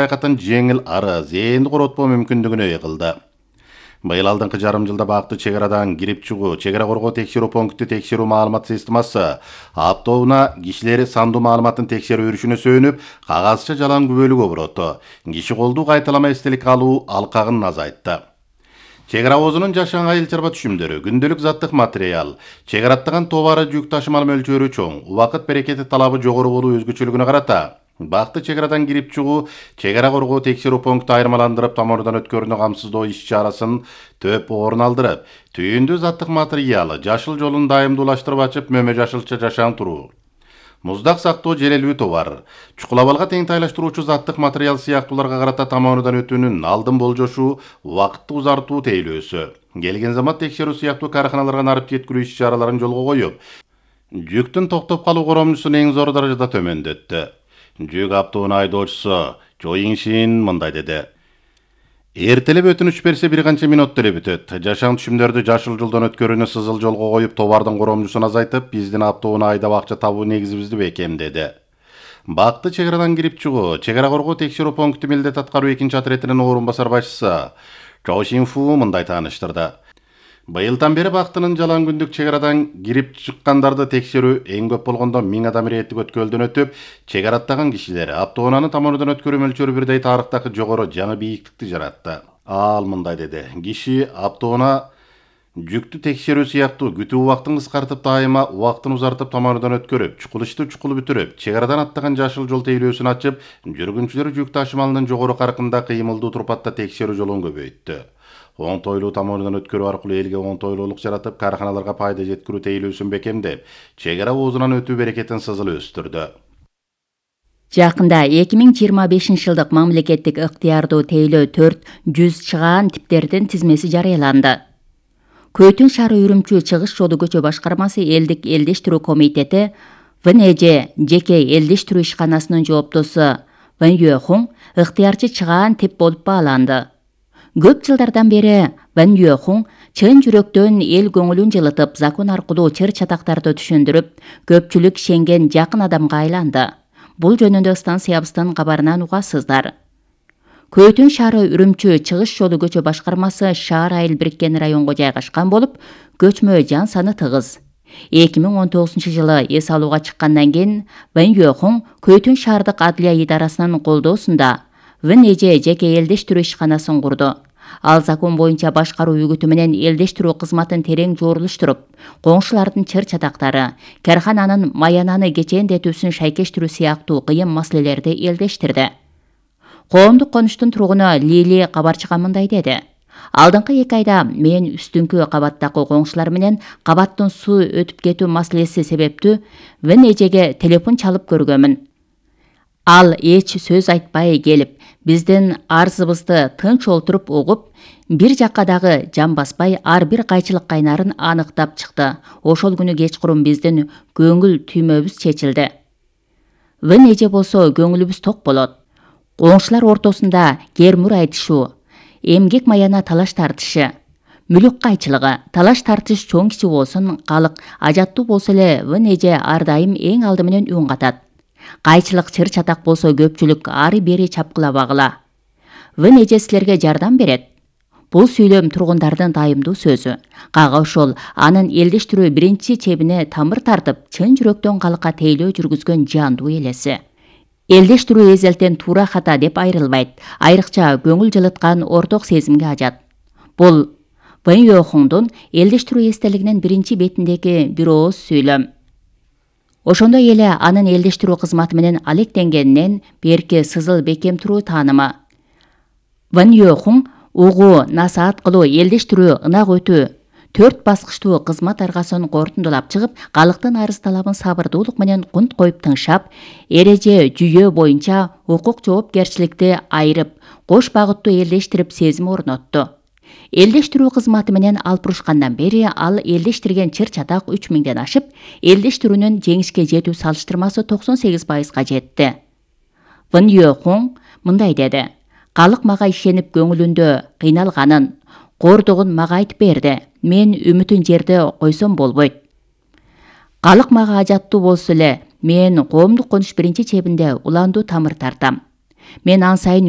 аякатын жеңил ары зээнди коротпоо мүмкүндүгүнө ээ кылды. Быйыл алдыңкы жарым жылда бакты чек арадан кирип чыгуу, чек ара коргоо текшерүү пункти текшерүү маалымат системасы аптоуна кишилер сандуу маалыматын текшерүү үрүшүнө сөөнүп, кагазча жалаң күбөлүгө буроту. Киши колду кайталама эстелик алуу алкагын азайтты. Чек ара оозунун жашаң айыл чарба түшүмдөрү, күндөлүк заттык материал, чек араттаган товары жүк ташымал мөлчөрү чоң, убакыт берекети талабы жогору болуу өзгөчөлүгүнө карата бакты чек арадан кирип чыгуу, чек ара коргоо текшерүү пункту айырмаландырып тамырдан өткөрүүнү камсыздоо иш-чарасын төп орун алдырып, түйүндүү заттык материалы жашыл жолун дайымдуулаштырып ачып, мөмө жашылча жашаң туруу. Муздак сактоо желелүү товар, чукулабалга тең тайлаштыруучу заттык материал сыяктууларга карата тамырдан өтүүнүн алдын болжошуу, убакытты узартуу тейлөөсү. Келген замат текшерүү сыяктуу карканаларга нарып жеткирүү иш-чараларын жолго коюп, жүктүн токтоп калуу коромчусун эң зор даражада төмөндөттү. Жүк аптоунун айдоочусу Чо Ин-шин мындай деди. Эртелеп өтүнүч берсе бир канча мүнөттө эле бүтөт. Жашаң түшүмдөрдү жашыл жолдон өткөрүүнү сызыл жолго коюп, товардын коромчусун азайтып, биздин аптоуна айдап акча табуу негизибизди бекемдеди. Бакты чек арадан кирип чыгуу, чек ара коргоо текшерүү пункти милдет аткаруу экинчи отретинин орун басар башчысы Чо Ин-фу мындай тааныштырды. Быйылдан бери бактынын жалаң күндүк чек арадан кирип чыккандарды текшерүү эң көп болгондо 1000 адам реттик өткөлдөн өтүп, чек араттаган кишилер аптоунаны тамырдан өткөрүү мөлчөрү бирдей тарыхтагы жогору жаңы бийиктикти жаратты. Ал мындай деди. Киши аптоуна жүктү текшерүү сыяктуу күтүү убактын кыскартып, дайыма убактын узартып, тамырдан өткөрүп, чукул чукул бүтүрүп, чек арадан аттаган жашыл жол тейлөөсүн ачып, жүргүнчүлөр жүк ташымалынын жогору каркында кыймылдуу турпатта текшерүү жолун көбөйттү. Оңтойлуу тамырдан өткөрүү аркылуу элге оңтойлуулук жаратып, карканаларга пайда жеткирүү тейлөөсүн бекемдеп, чек ара оозунан өтүү берекетин сызыл өстүрдү. Жакында 2025 жылдык мамлекеттик ыктыярдуу тейлөө 400 чыгаан типтердин тизмеси жарыяланды. Көйтүн шаары Үрүмчү чыгыш жолу көчө башкармасы элдик элдештирүү комитети ВНЖ жеке элдештирүү ишканасынын жооптосу Ван Юэхун ыктыярчы чыгаан тип болуп бааланды. Көп жылдардан бери Ван Юэхун чын жүрөктөн эл көңүлүн жылытып, закон аркылуу чыр чатактарды түшүндүрүп, көпчүлүк ишенген жакын адамга айланды. Бул жөнүндө станциябыздын кабарынан угасыздар. Көйтүн шаары Үрүмчү чыгыш жолу көчө башкармасы шаар айыл бириккен районго жайгашкан болуп, көчмө жан саны тыгыз. 2019 жылы эс алууга чыккандан кийин Ван Юэхун Көйтүн шаардык адлия идарасынын колдоосунда ВНЖ жеке элдештирүү ишканасын курду. Ал закон боюнча башкаруу үгүтү менен элдештирүү кызматын терең жорулуштуруп, коңшулардын чыр чатактары, кархананын маянаны кечээндетүүсүн шайкештирүү сыяктуу кыйын маселелерди элдештирди. Коомдук конуштун тургуну Лили кабарчыга мындай деди. Алдыңкы 2 айда мен үстүңкү кабаттагы коңшулар менен кабаттын суу өтүп кетүү маселеси себептүү ВНЖге телефон чалып көргөмүн. Ал эч сөз айтпай келип, биздин арызыбызды тынч олтуруп угуп, бир жакка дагы жан баспай ар бир кайчылык кайнарын аныктап чыкты. Ошол күнү кечкурун биздин көңүл түймөбүз чечилди. ВНЖ болсо көңүлүбүз ток болот. Коңшулар ортосунда кермур айтышуу, эмгек маяна талаш тартышы, мүлүк кайчылыгы, талаш тартыш чоң кичи болсун, калык ажаттуу болсо эле ВНЖ ар дайым эң алды менен үн катат. Кайчылык чыр чатак болсо көпчүлүк ары бери чапкылабагыла. ВНЖ силерге жардам берет. Бул сүйлөм тургундардын дайымдуу сөзү. Кага ошол анын элдештирүү биринчи чебине тамыр тартып, чын жүрөктөн калыкка тейлөө жүргүзгөн жандуу элеси. Элдештирүү эзелтен туура хата деп айрылбайт, айрыкча көңүл жылыткан орток сезимге ажат. Бул Ван Юэхундун элдештирүү эстелигинин биринчи бетиндеги бир ооз сүйлөм. Ошондой эле анын элдештирүү кызматы менен алектенгенинен берки сызыл бекем туруу таанымы. Ван Юэхун угуу, насаат кылуу, элдештирүү, ынак өтүү 4 баскычтуу кызмат аргасын кортундулап чыгып, калктын арыз талабын сабырдуулук менен кунт коюп тыңшап, эреже жүйөө боюнча укук жоопкерчиликти айырып, кош багыттуу элдештирип сезим орнотту. Элдештирүү кызматы менен алпурушкандан бери ал элдештирген чыр чатак 3000ден ашып, элдештирүүнүн жеңишке жетүү салыштырмасы 98%га жетти. Ван Юэхун мындай деди. Калык мага ишенип көңүлүндө кыйналганын, кордугун мага айтып берди. Мен үмүтүн жерде койсом болбойт. Калык мага ажаттуу болсо эле, мен коомдук конуш биринчи чебинде уландуу тамыр тартам. Мен ан сайын